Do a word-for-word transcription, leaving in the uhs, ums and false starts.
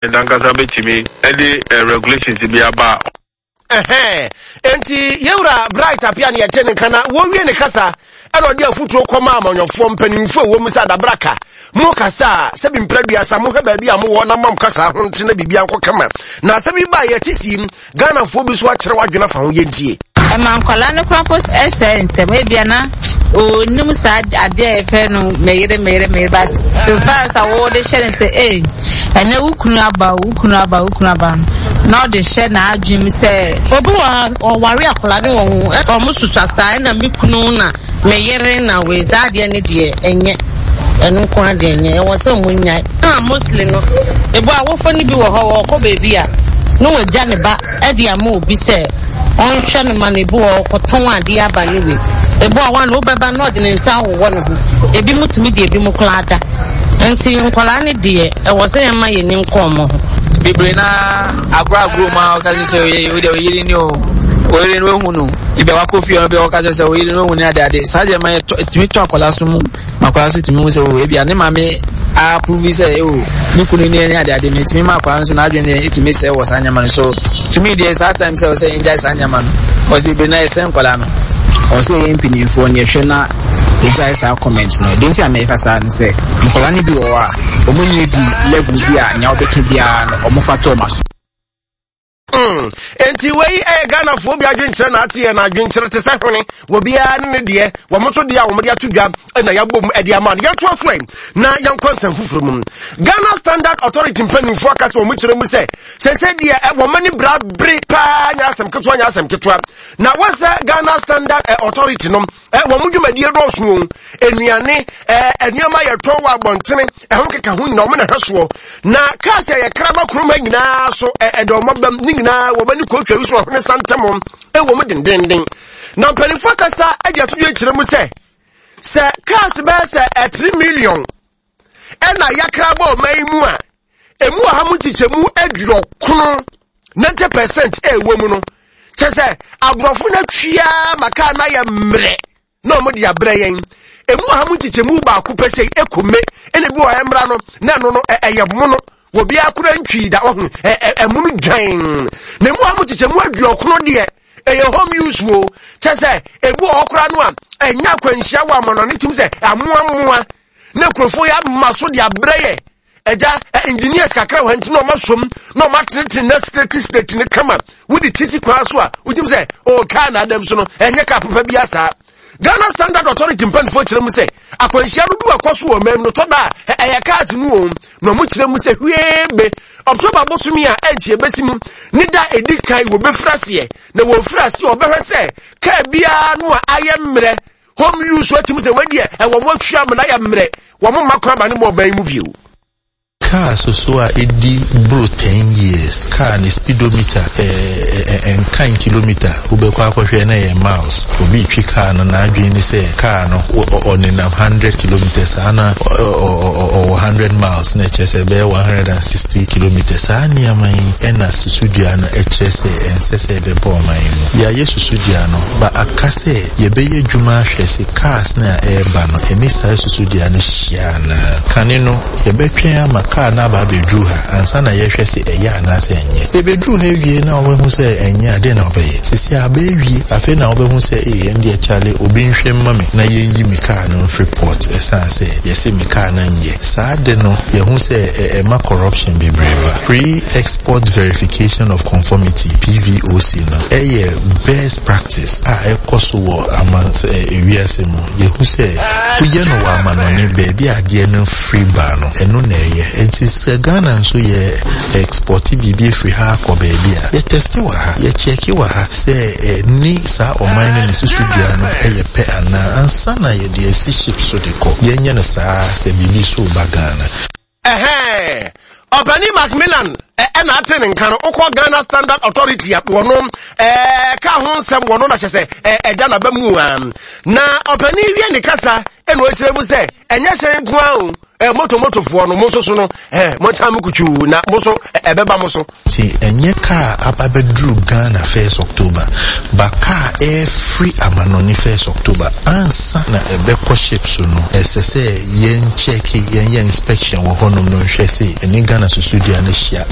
Ankasa bɛtumi ɛde regulations bi aba. Ɛhɛn, enti yɛwura Bright Appiah ne yɛte ne nka na wɔwie ne kasa ɛna ɔde afotuo kɔma amanyɔfoɔ mpanimfoɔ a ɛwɔ mu sɛ adabraka mo kasa a, sɛbi mprɛduasa mohwɛ baabi a mowɔ na mam kasa ho nte na biribia nkɔ kama. Na asɛm yi baa yɛte sii Ghanafoɔ bi so akyerɛ w'adwene afa ho. Yɛntie. Ɛma nkwadaa no koraa mpo sɛe ntɛm. Ebia na onim saa adeɛ a yɛfrɛ no meyere, meyere, meyere, but so far as a wɔde hyɛ no sɛ ee, ɛnɛ wo kunu aba, wo kunu aba, wo kunu aba no, na ɔde hyɛ n'adwene mu sɛ obi wɔ ha ɔware akwadaa ne wɔn ho, ɔmo susua saa, ɛna me kunu na me yere na wei saa adeɛ no deɛ, ɛnyɛ ɛno nko adeɛ, nyɛ ɛwɔ sɛ ɔmo nyae. Na mostly no, ebu awofo no bi wɔ hɔ, wɔkɔ beebi a na wɔagya ne ba ɛde ama obi sɛ ɔnhwɛ no ma no. Ebi wɔ ɔkɔtɔn adeɛ aba ne wei, ebi wɔ hɔ a na wobɛba na ɔde ne nsa awowɔ ne ho, ebi mu tumi de ebi mu koraa da. Nti nkwadaa no deɛ, ɛwɔ sɛ yɛma yɛn ni nkɔ ɔmo ho. Bebree na agorɔ agorɔ mu a ɔka sɛ sɛ o deɛ, oyere ni o, oyere no ehu no, ebi a wakɔ fie no bi a ɔka sɛ sɛ oyere no ehu ne ade ade saa deɛ, ma yɛ tɔ etumi tɔ akwadaa so mu ma akwadaa so tumi hu sɛ o, ebi a ne maame approve sɛ o, ne kunu ne ne ade ade no, etumi ma akwadaa no so n'adwene deɛ etumi sɛ wɔ saa nneɛma no so. Tumi deɛ, saa time sɛ ɔsɛ yɛn gyae saa nneɛma no, ɔsɛ bebree na yɛsɛ nkwadaa no. Ɔsɛ yɛn mpanimfoɔ no yɛhwɛ na yɛgyae saa comment no. Deɛ nti a mɛka saa ne sɛ nkwadaa no bi wɔ hɔ a wɔn nyɛ di level bi a nea wɔbɛka biara no wɔn fa tɔ wɔn aso. Mm. Enti wei ɛyɛ Ghanafoɔ bi adwenkyerɛ na ate yɛ na adwenkyerɛ te sɛ hwene, obiara ne ne deɛ. Wɔn nso deɛ a wɔde ato dwa na yɛabɔ mu ɛde ama no. Yɛntoa so ɛ na yɛnkɔ nsɛm foforɔ mu. Ghana Standard Authority mpanimfoɔ aka sɛ wɔn kyerɛ mu sɛ sɛsɛ deɛ wɔn ani bra bere paa, nyɛ asɛm ketewa, nyɛ asɛm ketewa. Na wɔsɛ Ghana Standard Authority no, wɔn dwumadie dɔɔso o, nnuane, nneɛma yɛtɔn wɔ abɔntene, ɛho keka ho nyinaa wɔn na hwɛ soɔ. Na cars a yɛkra ba kurom ha nyinaa so ɛdɛ wɔn abam ne nyinaa wɔn ani kɔtwa yi so ɔhene santam ɛwɔ mu dendenden. Na mpanimfoɔ kasa ɛde ato dwa kyerɛ mu sɛ sɛ cars bɛyɛ sɛ ɛthree million ɛna yɛakra bɔ ɔman yi mu a, emu ɔha mu nkyekyɛmu aduɔkono, ninety percent ɛwɔ mu no, kyɛ sɛ aborɔfo no atwia ma kaa no ayɛ mmerɛ na wɔn de abrɛ yɛn. Emu ɔha mu nkyekyɛmu baako pɛ sɛ ekome ɛna ebi wɔ ɛmra no na ɛno no ɛyɛ mono, obi akora ntwi da ɔho ɛmu no dwan. Na emu ɔha mu nkyekyɛmu aduɔkono deɛ, ɛyɛ home use wo, kyɛ sɛ ebi wɔ hɔ koraa no a ɛnya akwanhyia wɔ amanɔne tim sɛ amoamoa na nkurɔfoɔ yɛ ama so de abrɛ yɛ. Ɛgya engineers kakra wɔ nti na ɔma som na ɔma tenetene na straight straight ne kama wode ti si kwan so a wogyim sɛ o, kaa na adam so no ɛnyɛ kaa papa bi asaa. Ghana Standard Authority mpanimfoɔ kyerɛ mu sɛ akwanhyia no bi wakɔ so wɔ ɔman mu no tɔ da a ɛyɛ cars no wɔn, na ɔmo kyerɛ mu sɛ hwee be October bosomi a ɛnti ebesi mu ne da edi kan wɔbɛfiri aseɛ, na wɔfiri aseɛ ɔbɛhwɛ sɛ kaa biara no a ayɛ mmerɛ, home use, watumi sɛ wɔadiɛ ɛwɔ mo atwa mu na ayɛ mmerɛ, wɔn mma kwan ma ne mu ɔman mu bio. Car soso a ɛdi boro ten years, car ne speedometer ɛnkan kilometer, wobɛkɔ akɔhwɛ na ɛyɛ miles. Obi twi car no, n'adwene ne sɛ car no ɔnenam hundred kilometers saa na ɔwɔ hundred miles, na ɛkyerɛ sɛ ɛbɛyɛ one hundred and sixty kilometers. Saa nneɛma yi ɛna susudua no ɛkyerɛ sɛ ɛnsɛ sɛ ɛbɛbɔ ɔman yi mu. Yɛayɛ susudua no ba aka sɛ yɛbɛyɛ adwuma ahwɛ sɛ cars no a ɛreba no ɛne saa susudua no hyia anaa. Kane no, yɛbɛtwɛn ama kaa no aba abɛduru ha ansa na yɛhwɛ sɛ ɛyɛ anaasɛ ɛnyɛ. Ɛbɛduru ha awie na wɔbɛhu sɛ ɛnyɛ adeɛ na wɔbɛyɛ sisi a abɛɛwie, afei na wɔbɛhu sɛ ee, ɛn deɛ kyale, obi nhwɛ mma me na yɛnyi me kaa no mfiri port, ɛsiane sɛ yɛse me kaa no nyɛ. Saa de no, yɛhu sɛ ɛma corruption bebree ba. Pre-export verification of conformity, P V O C no, ɛyɛ best practice a ɛkɔ so wɔ aman ewiase mu. Yɛhu sɛ woyɛ no wɔ amanɔne baabi a adeɛ no firi ba no, ɛno na ɛyɛ. Nti sɛ Ghana nso yɛ export biribi afiri ha akɔ baabi a, yɛtest wɔ ha, yɛcheck wɔ ha sɛ ɛne saa ɔman no ne susudua no ɛyɛ pɛ anaa ansa na yɛde asi ship so de kɔ. Yɛnyɛ no saa sɛ biribi so ba Ghana. Ɛhɛn, ɔpani Macmillan ɛna ate ne nka no. Wokɔ Ghana Standard Authority a, wɔno ɛɛ ka ho nsɛm wɔno na kyɛ sɛ ɛda n'aba mu a. Na ɔpani wie ne kasa ɛna ɔkyerɛ mu sɛ ɛnyɛ hyɛn nko ara o. eh, moto motofoɔ no mo nso so no eh, monkyɛn mo kutuu na mo nso ɛbɛba mo so. Nti ɛnyɛ kaa aba bɛduru Ghana first October, ba kaa ɛfiri amanɔne first October ansa na ɛbɛkɔ ship so no, ɛsɛ sɛ yɛn check, yɛn yɛ inspection wɔ hɔnom no nhwɛ sɛ ɛne Ghana susudua no hyia.